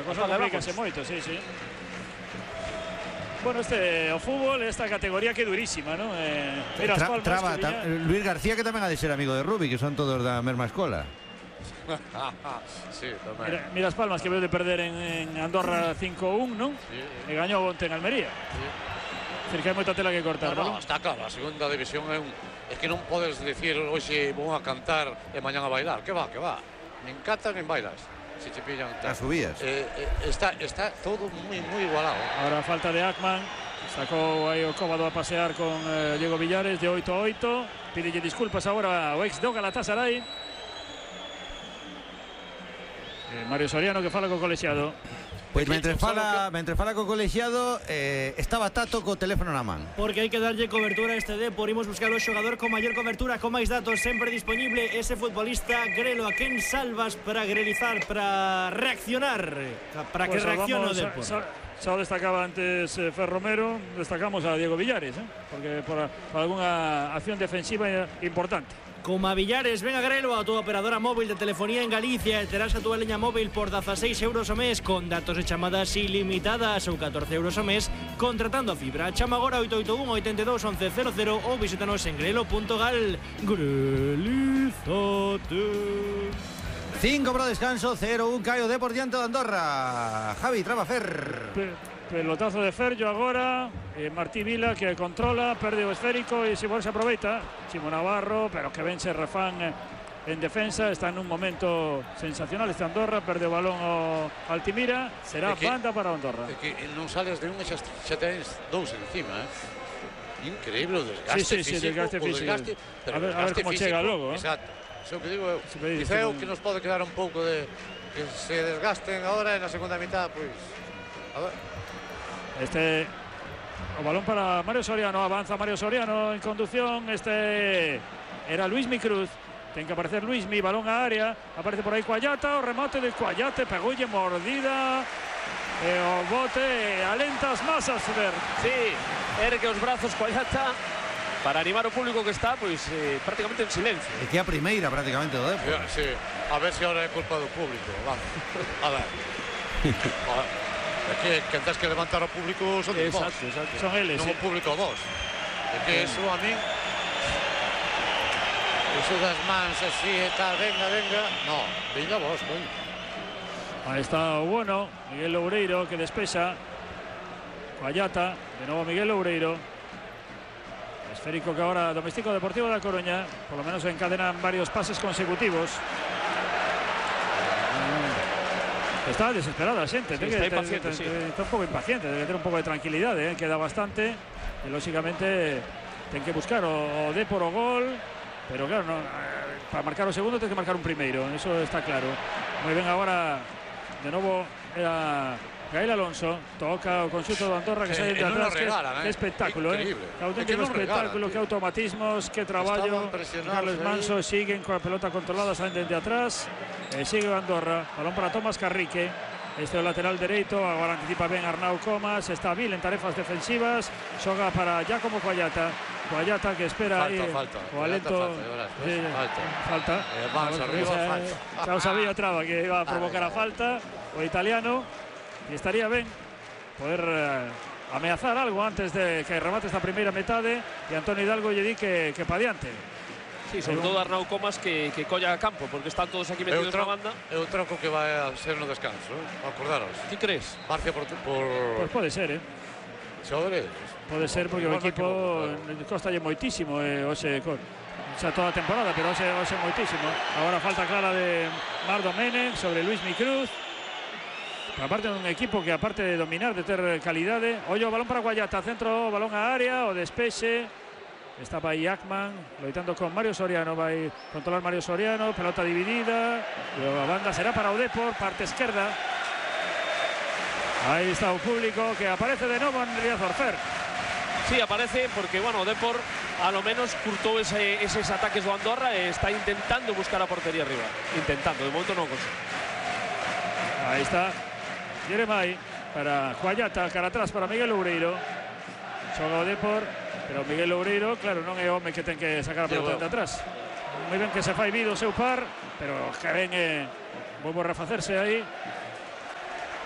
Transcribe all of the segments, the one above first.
cosa complícase moito, sí. Bueno, o fútbol, esta categoría que durísima, ¿no? Mira, Luis García, que tamén ha de ser amigo de Rubi, que son todos da mesma escola. Sí, tamén. Mira as Palmas, que veo de perder en Andorra 5-1, ¿no? Sí. E gañou onte en Almería. Sí. Es decir, que hai moita tela que cortar, no, está claro, a segunda división é que non podes decir hoxe vou a cantar e mañán a bailar. Que va. Nin cantas nin bailas. Si te pillan as subías. Está todo moi igualado. Ahora falta de Ackman. Sacou aí o Cóbado a pasear con Diego Villares de 8-8. Pídelle disculpas agora ao ex do Galatasaray. Mario Soriano, que fala co colexiado. Pois mentre fala co colexiado, estaba Tato co teléfono na man. Porque hai que darlle cobertura a este Depor. Imos buscar o xogador con maior cobertura, con máis datos, sempre disponible ese futbolista Grelo. A quen salvas para grelizar, para reaccionar, para que reaccione o Depor? Xa o destacaba antes Fer Romero, destacamos a Diego Villares, porque por algunha acción defensiva importante. Como a Villares, ven a Grelo, a tua operadora móvil de telefonía en Galicia, e terás a tua leña móvil por 16 euros o mes, con datos e chamadas ilimitadas, ou 14 euros o mes, contratando a fibra. Chama agora 881 82 11 00 ou visítanos en grelo.gal. Grelízate. 5 para o descanso, 0-1 cae o Depor diante de Andorra. Javi, traba Fer. Pelotazo de Ferjo agora, Martí Vila que controla, perde o esférico e se aproveita. Chimo Navarro, pero que vence Rafán en defensa, está en un momento sensacional este Andorra, perde o balón ao Altimira, será banda para Andorra. É que non sales de un e xa tens dous encima, Increíble o desgaste físico. Desgaste físico. A ver como chega logo. Exacto, iso que digo eu. Diceu que nos pode quedar un pouco de que se desgasten agora e na segunda mitad, pois a ver. O balón para Mario Soriano, avanza Mario Soriano en conducción. Era Luismi Cruz, ten que aparecer Luismi, balón a área, aparece por aí Cuallata, o remate de Cuallate, pegoulle mordida e o bote alenta as masas, Fer. Sí, ergue os brazos Cuallata para animar o público que está prácticamente en silencio. É que a primeira prácticamente do Depor. Sí, a ver se ahora é culpa do público, vamos. A ver. É que quen tens que levantar ao público son de vos. Exacto. Son eles. Non o público vos. É que eso a min... Eso das mans así e tal, venga. No, venga vos, coño. Aí está o bueno, Miguel Loureiro que despexa. Cuallata, de novo Miguel Loureiro. Esférico que ahora domestica o Deportivo da Coruña. Por lo menos encadenan varios pases consecutivos. Está desesperada a xente, está impaciente, está un pouco impaciente, debe ter un pouco de tranquilidade, queda bastante e lógicamente ten que buscar o Depor o gol, pero claro, para marcar o segundo ten que marcar un primeiro, eso está claro. Moi ben agora, de novo era Gael Alonso, toca o conxunto do Andorra que sai de atrás, que espectáculo, que auténtico espectáculo, que automatismos, que traballo. Carlos Manso siguen coa pelota controlada, saen de atrás. Sigue Andorra, balón para Tomás Carrique, este é o lateral dereito, agora anticipa ben Arnau Comas, está Vil en tarefas defensivas, xoga para Giacomo Cuallata que espera o alento. Falta. Xa o sabía Traba que iba a provocar a falta o italiano, e estaría ben poder ameazar algo antes de que remate esta primeira metade, e Antonio Hidalgo lle di que pa diante. Sí, sobre todo Arnau Comas que colla a campo, porque están todos aquí metidos na banda. É o troco que vai a ser no descanso, acordaros. Ti crees? Barcia por... Pois pode ser, Xogadores. Pode ser porque o equipo costalle moitísimo, hoxe, xa toda a temporada, pero hoxe moitísimo. Agora falta clara de Mar Domenech sobre Luismi Cruz. Aparte de un equipo que aparte de dominar, de ter calidade. Ollo, balón para Cuallata, centro, balón a área, o despexe. Estaba aí Ackman, loitando con Mario Soriano, vai controlar Mario Soriano, pelota dividida, e a banda será para o Depor, parte esquerda. Aí está o público que aparece de novo en Riazor, Fer. Sí, aparece porque, bueno, o Depor a lo menos curtou eses ataques do Andorra e está intentando buscar a portería arriba. Intentando, de momento non consigue. Aí está Jeremai para Cuallata, cara atrás para Miguel Loureiro. Xoga o Depor. Pero Miguel Loureiro, claro, non é o home que ten que sacar a pelota de atrás. Moi ben que se fai vido o seu par, pero que ven volvo a refacerse aí.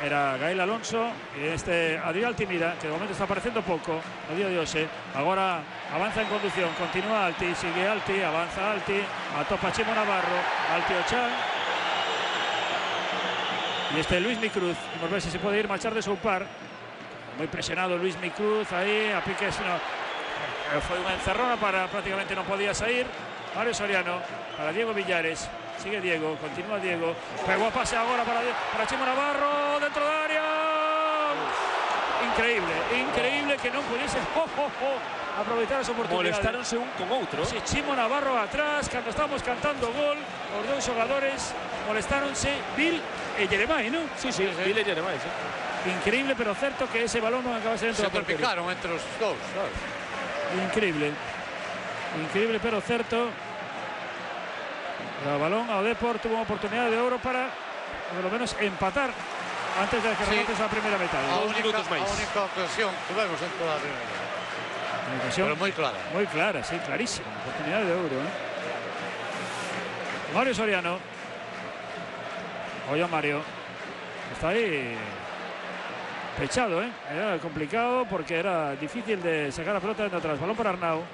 era Gael Alonso e este Adrián Altimira, que de momento está aparecendo pouco no día de hoxe. Agora avanza en conducción, continúa Alti, sigue Alti, avanza Alti, atopa Chimo Navarro, Alti Ochan. E este Luis Micruz, vamos ver se pode ir marchar de seu par. Moi presionado Luis Micruz aí, a piques foi unha encerrona para prácticamente non podía sair. Mario Soriano para Diego Villares. Sigue Diego, continúa Diego. Pegó a pase agora para Chimo Navarro dentro da área. Increíble que non pudiese aproveitar esa oportunidade. Molestáronse un con outro. Si, Chimo Navarro atrás, cando estamos cantando gol, os dous xogadores molestáronse, Bill e Jeremai, non? Sí, Bill e Jeremai, sí. Increíble, pero certo que ese balón non acabase dentro da portería. Se picaron entre os dous, sabes? Increíble, pero certo. El balón ao Depor tuvo unha oportunidade de oro para, por lo menos, empatar antes de que remate esa primeira metade. A única ocasión que vemos en toda a primeira. Pero moi clara. Moi clara, sí, clarísima. Oportunidade de oro, ¿eh? Mario Soriano. Oye, Mario. Está aí pechado, ¿eh? Era complicado porque era difícil de sacar a pelota de atrás. Balón para Arnau.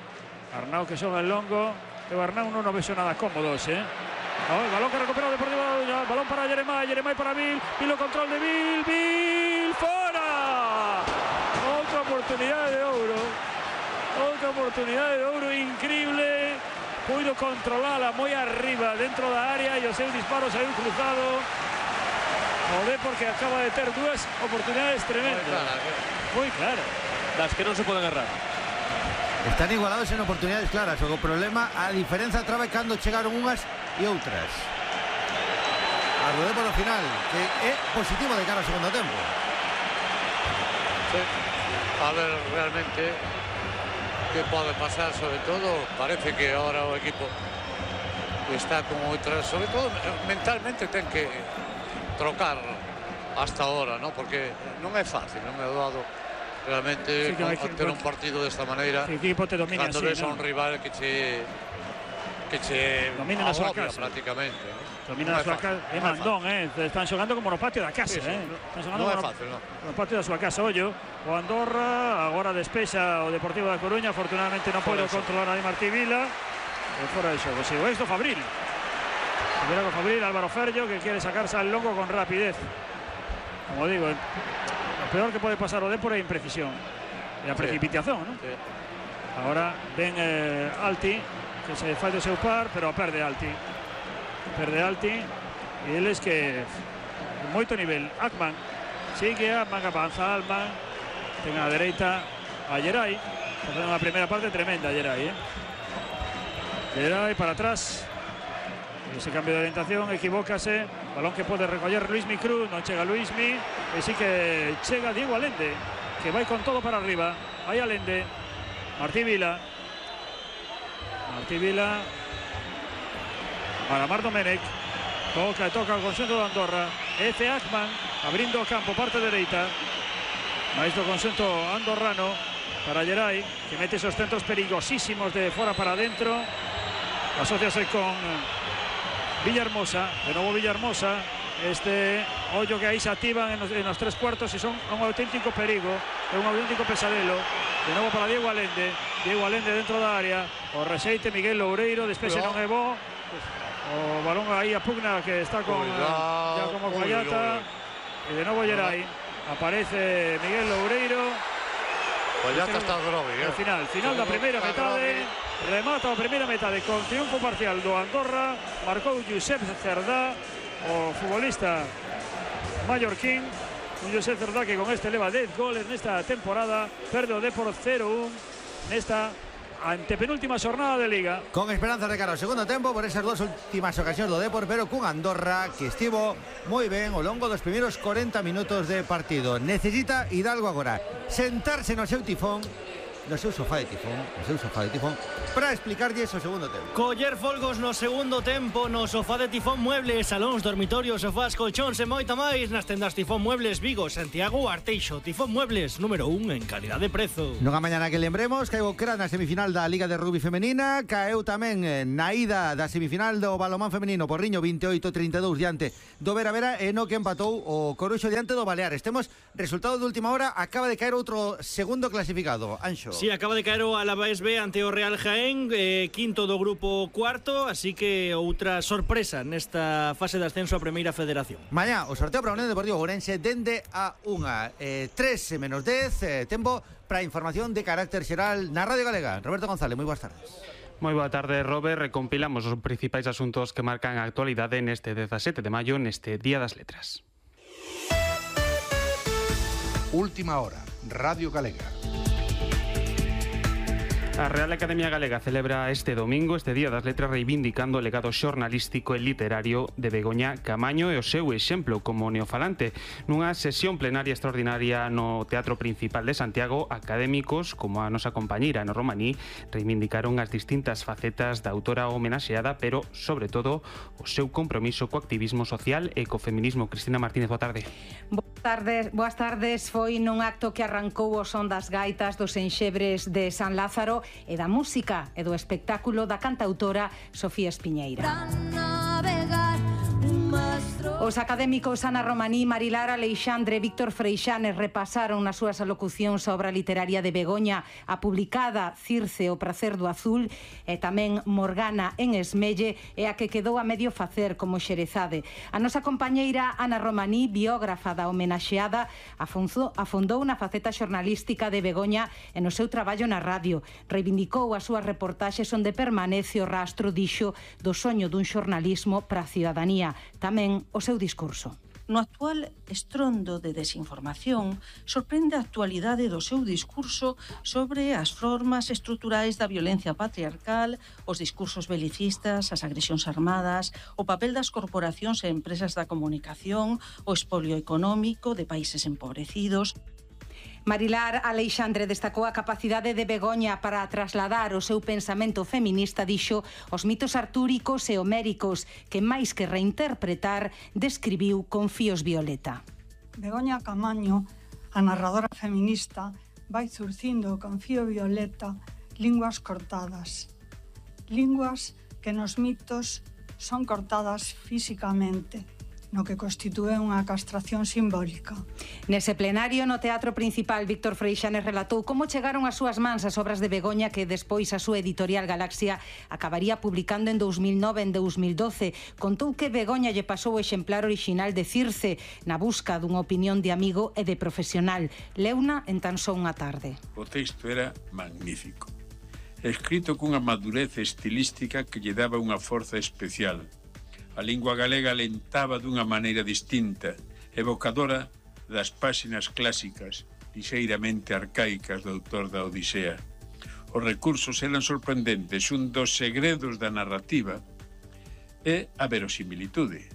Arnau que xoga en longo. Pero Arnau non vexo nada cómodos, ¿eh? El balón que recupera Deportivo da Coruña. Balón para Jeremai para Bill. Bill o control de Bill. ¡Fora! Outra oportunidade de ouro. Outra oportunidade de ouro increíble. Puido controlarla moi arriba dentro da área e o seu disparo saiu cruzado. O Depor que acaba de ter dúas oportunidades tremendas. Moi clara. Das que non se poden errar. Están igualados en oportunidades claras. O problema, a diferenza trabe cando chegaron unhas e outras. A do Depor ao final, que é positivo de cara ao segundo tempo. Sí. A ver realmente que pode pasar, sobre todo parece que ahora o equipo está con outras, sobre todo mentalmente ten que trocar hasta ahora, ¿no? Porque non é fácil, non é doado realmente sí, ter un partido desta maneira. O equipo te domina cando así, ves a un rival que che domina na súa agobia casa prácticamente, ¿no? Domina na súa casa, é mandón, están xogando como no patio da casa, sí. Están xogando non é fácil, non? No patio da súa casa. Ollo, o Andorra agora despexa o Deportivo da Coruña, afortunadamente non pode controlar a Martí Vila, e fora de xogo. Si o esto Fabril. Primero con Fabril, Álvaro Ferllo, que quiere sacarse al longo con rapidez. Como digo, lo peor que puede pasar o Depor é imprecisión e a precipitación, ¿no? Sí. Ahora ven Alti, que se fai do seu par, pero perde Alti. Perde Alti e eles que moito nivel. Akman, sigue Akman, avanza Alman, ten a dereita a Geray, facendo unha primeira parte tremenda Geray, Geray para atrás. Ese cambio de orientación, equivócase. Balón que pode recoller Luismi Cruz, non chega Luismi, e sí que chega Diego Allende, que vai con todo para arriba. Aí Allende, Martí Vila para Mar Domenech, toca o conxunto de Andorra. Ece Akman abrindo o campo, parte dereita, máis do conxunto andorrano para Geray, que mete esos centros perigosísimos de fora para adentro. Asociase con Villahermosa, de novo Villahermosa, ollo que aí se activan en los tres cuartos e son un auténtico perigo, é un auténtico pesadelo. De novo para Diego Allende dentro da área, o rexeite Miguel Loureiro, despexe non é bo, o balón aí a pugna que está con Giacomo Guayata, e de novo Geray, aparece Miguel Loureiro. Guayata está grave, Final da primeira metade. Remata a primeira metade con triunfo parcial do Andorra. Marcou Josep Cerdá, o futbolista mallorquín. Un Josep Cerdá que con este leva 10 goles nesta temporada. Perde o Depor 0-1 nesta antepenúltima xornada de Liga. Con esperanzas de cara ao segundo tempo por esas dúas últimas ocasións do Depor, pero cun Andorra que estivo moi ben ao longo dos primeiros 40 minutos de partido. Necesita Hidalgo agora sentarse no seu tifón no seu sofá de Tifón, para explicarlles o segundo tempo. Coller folgos no segundo tempo no sofá de Tifón Muebles, salóns, dormitorios, sofás, colchóns e moita máis nas tendas Tifón Muebles Vigo, Santiago, Arteixo. Tifón Muebles, número 1 en calidad de prezo. Nunha mañana que lembremos, caeu Cra na semifinal da Liga de Rugby Femenina, caeu tamén na ida da semifinal do balonmán femenino, Porriño 28-32 diante do Vera e no que empatou o Coruxo diante do Baleares. Temos resultado de última hora, acaba de caer outro segundo clasificado, Anxo. Sí, acaba de caer o Alavés B ante o Real Jaén, quinto do grupo cuarto, así que outra sorpresa nesta fase de ascenso a Primeira Federación. Mañá, o sorteo para o Unión Deportivo Ourense dende a 3 menos 10, tempo para información de carácter xeral na Radio Galega. Roberto González, moi boas tardes. Moi boa tarde, Robert. Recompilamos os principais asuntos que marcan a actualidade neste 17 de maio, neste Día das Letras. Última hora, Radio Galega. A Real Academia Galega celebra este domingo, este Día das Letras, reivindicando o legado xornalístico e literario de Begoña Camaño e o seu exemplo como neofalante. Nunha sesión plenaria extraordinaria no Teatro Principal de Santiago, académicos, como a nosa compañeira no Romaní, reivindicaron as distintas facetas da autora homenaxeada, pero, sobre todo, o seu compromiso co activismo social e co feminismo. Cristina Martínez, boa tarde. Boas tardes. Foi nun acto que arrancou o son das gaitas dos enxebres de San Lázaro e da música e do espectáculo da cantautora Sofía Espiñeira. Os académicos Ana Romaní, Marilar Aleixandre e Víctor Freixanes repasaron nas súas alocucións a obra literaria de Begoña, a publicada Circe, o pracer do azul, e tamén Morgana en Esmelle, e a que quedou a medio facer como Xerezade. A nosa compañeira Ana Romaní, biógrafa da homenaxeada, afondou na faceta xornalística de Begoña e no seu traballo na radio. Reivindicou as súas reportaxes onde permanece o rastro, dixo, do soño dun xornalismo para a ciudadanía. Tamén o seu discurso. No actual estrondo de desinformación, sorprende a actualidade do seu discurso sobre as formas estruturais da violencia patriarcal, os discursos belicistas, as agresións armadas, o papel das corporacións e empresas da comunicación, o expolio económico de países empobrecidos. Marilar Aleixandre destacou a capacidade de Begoña para trasladar o seu pensamento feminista, dixo, os mitos artúricos e homéricos que, máis que reinterpretar, describiu con fíos violeta. Begoña Camaño, a narradora feminista, vai zurcindo con fío violeta linguas cortadas. Linguas que nos mitos son cortadas físicamente, no que constitúe unha castración simbólica. Nese plenario no Teatro Principal, Víctor Freixanes relatou como chegaron as súas mans as obras de Begoña que despois a súa editorial Galaxia acabaría publicando en 2009 e en 2012. Contou que Begoña lle pasou o exemplar orixinal de Circe na busca dunha opinión de amigo e de profesional. Leuna en tan só unha tarde. O texto era magnífico, escrito cunha madurez estilística que lle daba unha forza especial. A lingua galega alentaba dunha maneira distinta, evocadora das páxinas clásicas, lixeiramente arcaicas do autor da Odisea. Os recursos eran sorprendentes, un dos segredos da narrativa é a verosimilitude.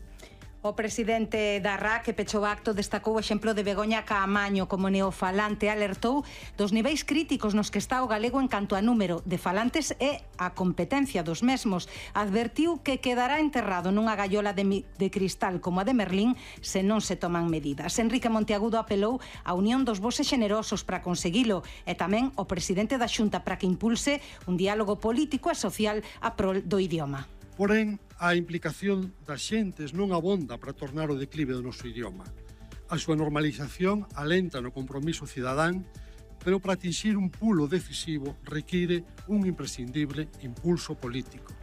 O presidente da RA, que pechou o acto, destacou o exemplo de Begoña Caamaño como neofalante, alertou dos niveis críticos nos que está o galego en canto a número de falantes e a competencia dos mesmos. Advertiu que quedará enterrado nunha gaiola de cristal como a de Merlín se non se toman medidas. Enrique Monteagudo apelou á unión dos voces xenerosos para conseguilo e tamén o presidente da Xunta para que impulse un diálogo político e social a prol do idioma. Porén, a implicación das xentes non abonda para tornar o declive do noso idioma. A súa normalización alenta no compromiso cidadán, pero para atingir un pulo decisivo require un imprescindible impulso político.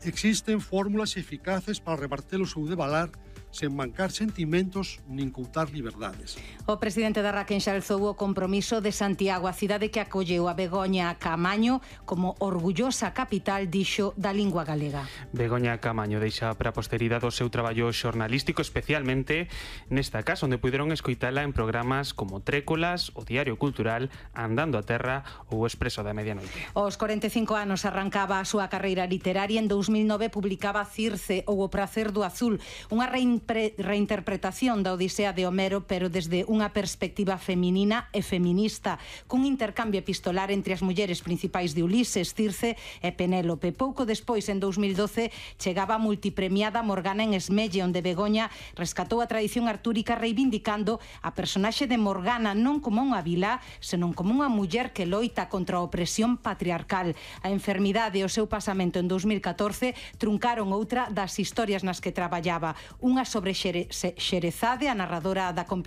Existen fórmulas eficaces para reverter o seu devalar sen mancar sentimentos nin coutar liberdades. O presidente da RA enxalzou o compromiso de Santiago, a cidade que acolleu a Begoña Camaño como orgullosa capital, dixo, da lingua galega. Begoña Camaño deixa para a posteridade o seu traballo xornalístico, especialmente nesta casa, onde puderon escoitala en programas como Trécolas, o Diario Cultural, Andando a Terra ou o Expreso da Medianoite. Aos 45 anos arrancaba a súa carreira literaria. En 2009 publicaba Circe ou O pracer do azul, unha reinterpretación reinterpretación da Odisea de Homero, pero desde unha perspectiva feminina e feminista, cun intercambio epistolar entre as mulleres principais de Ulises, Circe e Penélope. Pouco despois, en 2012, chegaba a multipremiada Morgana en Esmelle, onde Begoña rescatou a tradición artúrica reivindicando a personaxe de Morgana non como unha vilá, senón como unha muller que loita contra a opresión patriarcal. A enfermidade e o seu pasamento en 2014 truncaron outra das historias nas que traballaba, unha sobre Xerezade, a narradora da compilación